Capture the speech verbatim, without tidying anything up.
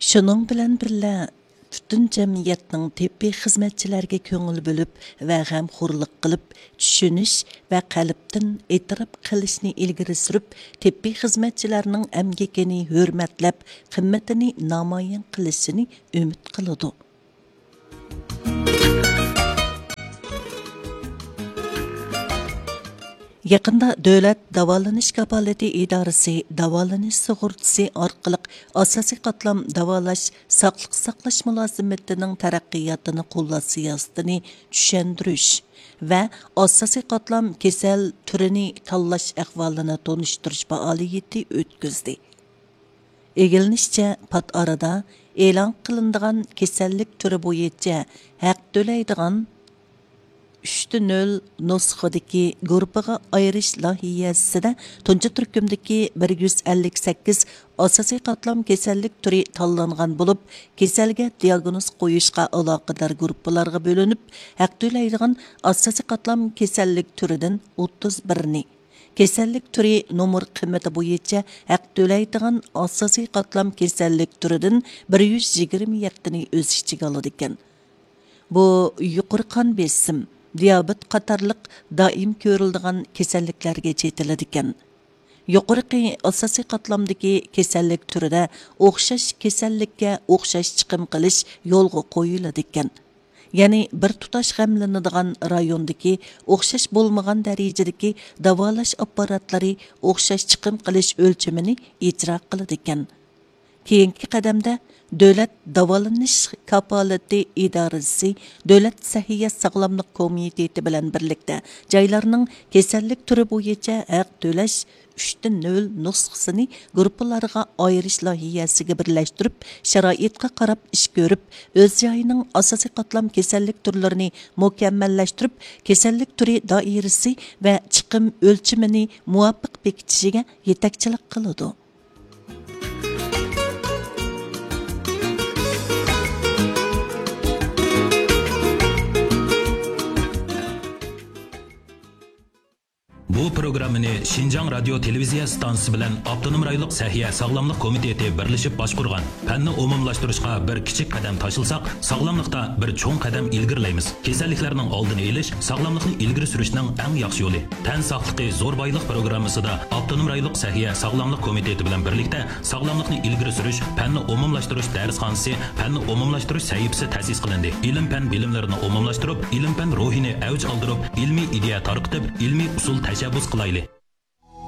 شۇنىڭ بىلەن بىللە، پۈتۈن جەمئىيەتنىڭ تېببىي خىزمەتچىلەرگە كۆڭۈل بۆلۈپ ۋە غەمخورلۇق قىلىپ، چۈشىنىش ۋە قەلبتىن ئېتىراپ قىلىشنى ئىلگىرى سۈرۈپ، تېببىي خىزمەتچىلەرنىڭ ئەمگىكىنى ھۆرمەتلەپ، قىممىتىنى نامايان قىلىشىنى ئۈمىد قىلىدۇ. يېقىندا دۆلەت داۋالىنىش كاپالىتى ئىدارىسى داۋالىنىش سۇغۇرتىسى ئارقىلىق ئاساسىي قاتلام داۋالاش، ساقلىق ساقلاش مۇلازىمىتىنىڭ تەرەققىياتىنى قوللاش سىياسىتىنى چۈشەندۈرۈش ۋە ئاساسىي قاتلام كېسەل تۈرىنى تاللاش ئەھۋالىنى تونۇشتۇرۇش پائالىيىتى ئۆتكۈزدى. ئىگىلىنىشىچە، پات ئارىدا ئېلان قىلىنىدىغان كېسەللىك تۈرى بويىچە ھەق تۆلەيدىغان ئۈچتە نۆل نۇسخىدىكى گۇرۇپپىغا ئايرىش لايىھەسىدە تۇنجى تۈركۈمدىكى بىر يۈز ئەللىك سەككىز ئاساسىي قاتلام كېسەللىك تۈرى تاللانغان بولۇپ، كېسەلگە دىياگنوز قويۇشقا ئالاقىدار گۇرۇپپىلارغا بۆلۈنۈپ، ھەق تۆلەيدىغان ئاساسىي قاتلام كېسەللىك تۈرىدىن ئوتتۇز بىرنى، كېسەللىك تۈرى نومۇر قىممىتى بويىچە ھەق تۆلەيدىغان ئاساسىي قاتلام كېسەللىك تۈرىدىن بىر يۈز يىگىرمە يەتتىنى ئۆز ئىچىگە ئالىدىكەن. بۇ يۇقىرى قان بېسىم، دىيابېت قاتارلىق دائىم كۆرۈلىدىغان كېسەللىكلەرگە چېتىلىدىكەن. يۇقىرىقى ئاساسىي قاتلامدىكى كېسەللىك تۈرىدە ئوخشاش كېسەللىككە ئوخشاش چىقىم قىلىش يولغا قويۇلىدىكەن. يەنى بىر تۇتاش غەملىنىدىغان رايوندىكى ئوخشاش بولمىغان دەرىجىدىكى داۋالاش ئاپپاراتلىرى ئوخشاش چىقىم قىلىش ئۆلچىمىنى ئىجرا قىلىدىكەن. كېيىنكى قەدەمدە دۆلەت داۋالىنىش كاپالىتى ئىدارىسى دۆلەت سەھىيە ساغلاملىق كومىتېتى بىلەن بىرلىكتە جايلارنىڭ كېسەللىك تۈرى بويىچە ھەق تۆلەش ئۈچتە نۆل نۇسخىسىنى گۇرۇپپىلارغا ئايرىش لايىھەسىگە بىرلەشتۈرۈپ، شارائىتقا قاراپ ئىش كۆرۈپ، ئۆز جايىنىڭ ئاساسىي قاتلام كېسەللىك تۈرلىرىنى مۇكەممەللەشتۈرۈپ، كېسەللىك تۈرى دائىرىسى ۋە چىقىم ئۆلچىمىنى مۇۋاپىق بېكىتىشىگە يېتەكچىلىك قىلىدۇ. بۇ پروگراممىنى شىنجاڭ رادىيو تېلېۋىزىيە ئىستانسىسى بىلەن ئاپتونوم رايونلۇق سەھىيە ساغلاملىق كومىتېتى بىرلىشىپ باشقۇرغان. پەننى ئومۇملاشتۇرۇشقا بىر كىچىك قەدەم تاشلىساق، ساغلاملىقتا بىر چوڭ قەدەم ئىلگىرىلەيمىز. كېسەللىكلەرنىڭ ئالدىنى ئېلىش ساغلاملىقنى ئىلگىرى سۈرۈشنىڭ ئەڭ ياخشى يولى. تەن ساقلىقى زور بايلىق پروگراممىسىدا ئاپتونوم رايونلۇق سەھىيە ساغلاملىق كومىتېتى بىلەن بىرلىكتە ساغلاملىقنى ئىلگىرى سۈرۈش پەننى ئومۇملاشتۇرۇش دەرسخانىسى، پەننى ئومۇملاشتۇرۇش سەھىپىسى تەسىس قىلىندى. ئىلىم-پەن بىلىملىرىنى ئومۇملاشتۇرۇپ، ئىلىم-پەن روھىنى ئەۋج ئالدۇرۇپ، ئىلمىي ئىدىيە تارقىتىپ، ئىلمىي ئۇسۇل تەشەببۇس قىلايلى.